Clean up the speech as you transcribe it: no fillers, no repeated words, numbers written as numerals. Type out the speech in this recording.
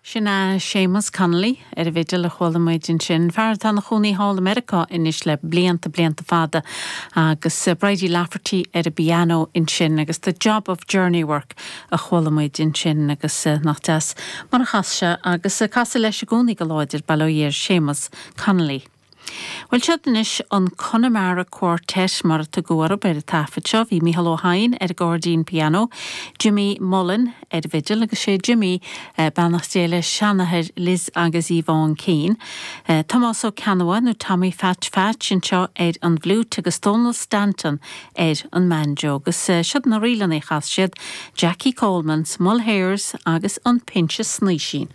Sin é Séamus Connolly ar an bhfidil a chuala muid ansin, fear atá ina chónaí thall i Meiriceá anois le blianta, blianta fada, agus Bridie Lafferty ar an bpianó ansin agus The Job of Journey Work a chuala muid ansin agus nach deas mar a chas sé agus casadh leis i gcónaí go láidir, bail ó Dhia ar Séamus Connolly. Bhuel, siod anois an Connemara Quartet, mar a tugadh orthu ar an taifead seo. Bhí Mícheál Ó hEidhin ar an gcairdín pianó, Jimmy Mullen ar an bhfidil, agus sé Jimmy, beannacht Dé leis, seanathair Liz agus Yvonne Keane, Tomás Ó Ceannabháin, nó Tommy Phatch Phatch, anseo ar an bhfliúit agus Dónal Stanton ar an mbanjo. Agus siod na ríleanna a chas siad, Jackie Coleman's, Mulhare's agus an Pinse Snaoisín.